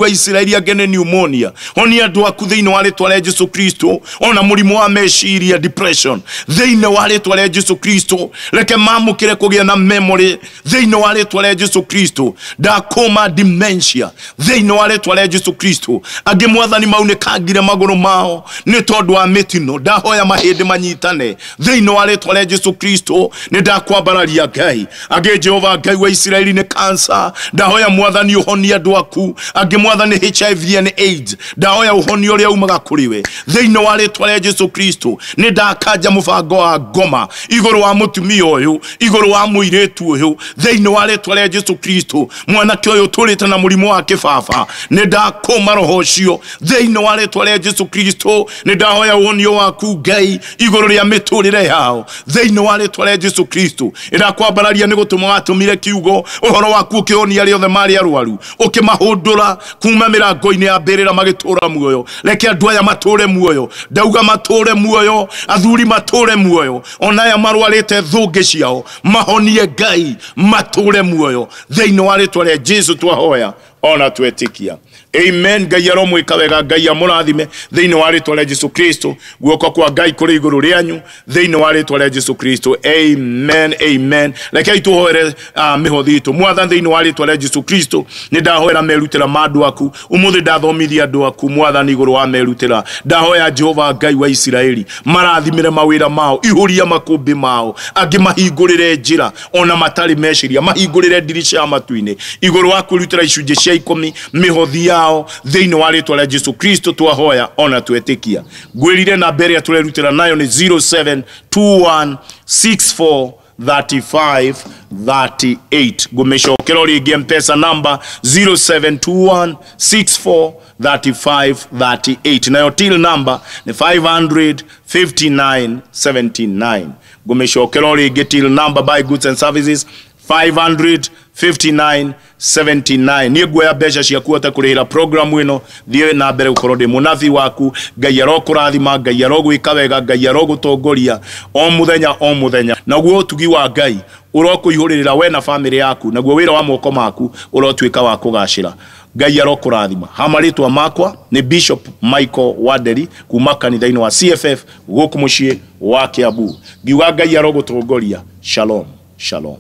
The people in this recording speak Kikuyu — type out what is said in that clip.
Wa Isiraeli angĩ nĩ pneumonia. Honia andũ aku thĩinĩ wa rĩtwa rĩa Jesu Kristo, ona mũrimũ wa meciria, depression, thĩinĩ wa rĩtwa rĩa Jesu Kristo. Reke mamũkĩre kũgĩa na memory thĩinĩ wa rĩtwa rĩa Jesu Kristo. Ndakũma dementia thĩinĩ wa rĩtwa rĩa Jesu Kristo. Angĩ Mwathani maunĩkangire magũrũ mao nĩ tondũ wa mĩtino, ndahoya mahĩndĩ manyitane thĩinĩ wa rĩtwa rĩa Jesu Kristo. Nĩ ndakwambararia Ngai. Angĩ Jehova Ngai wa Isiraeli nĩ cancer, ndahoya Mwathani ũhonie andũ aku. Angĩ Mwathani HIV and AIDS, ndahoya ũhonie ũrĩa umaga kũrĩ we thĩinĩ wa rĩtwa rĩa Jesu Kristo. Nĩ ndakanja mũbango wa ngoma igũrũ wa mũtumia ũyũ, igũrũ wa mũirĩtu ũyũ thĩinĩ wa rĩtwa rĩa Jesu Kristo. Mwanake ũyũ ũtũrĩte na mũrimũ wa kĩbaba, nĩ ndakũma roho ũcio thĩinĩ wa rĩtwa rĩa Jesu Kristo. Nĩ ndahoya ũhonio waku Ngai igũrũ rĩa mĩtũrĩre yao thĩinĩ wa rĩtwa rĩa Jesu Kristo. Ĩrakwambararia nĩ gũtũma watũmire kiugo ũhoro waku ũkĩhonia arĩa othe marĩ arwaru, ũkĩmahũndũra kuma mĩrango-inĩ ya mbĩrĩra magĩtũra muoyo. Reke andũ aya matũre muoyo, ndauga matũre muoyo, athuri matũre muoyo, ona aya marwarĩte thũngĩ ciao mahonie Ngai, matũre muoyo thĩinĩ wa rĩtwa rĩa Jesu twahoya ona twetĩkia. Amen. Ngai aromwĩka wega, Ngai amũrathime thĩinĩ wa rĩtwa rĩa Jesu Kristo. Guoko kwa Ngai kũrĩ igũrũ rĩanyu thĩinĩ wa rĩtwa rĩa Jesu Kristo. Amen, amen. Rekei tũhoere mĩhothi itũ. Mwathani, thĩinĩ wa rĩtwa rĩa Jesu Kristo, nĩ ndahoera merutĩra ma andũ aku ũmũthĩ. Ndathomithia andũ aku Mwathani igũrũ wa merutĩra. Ndahoya Jehova Ngai wa Isiraeli marathimĩre mawĩra mao, ihũria makũmbĩ mao, angĩ mahingũrĩre njĩra ona matarĩ meciria, mahingũrĩre ndirica ya matu-inĩ igũrũ wa kwĩrutĩra icunjĩ cia ikũmi, mĩhothi yao thĩinĩ wa rĩtwa rĩa Jesu Kristo twahoya ona twetĩkia. Ngwĩrire namba ĩrĩa tũrerutĩra nayo nĩ 072164 35 38. Ngũmĩcokera o rĩngĩ, Mpesa number 0721 64 35 38, nayo till number nĩ 559 79. Ngũmĩcokera o rĩngĩ, till number buy goods and services 559 79. Niĩ nguoya mbeca ciaku hote kũrĩhĩra program ĩno thiĩ na mbere gũkorwo ndĩ mũnabii waku. Ngai arokũrathima, Ngai arogwĩka wega, Ngai arogũtongoria o mũthenya o mũthenya, naguo ũtugi wa Ngai ũrokũihũrĩrĩra we na bamĩrĩ yaku, naguo wĩra wa moko maku ũrotuĩka wa kũgacĩra. Ngai arokũrathima. Ha marĩtwa makwa nĩ Bishop Michael Wanderi kuma kanitha-inĩ wa CFF gũkũ mũciĩ wa Kiambu. Ngiuga Ngai arogũtongoria. Shalom, shalom.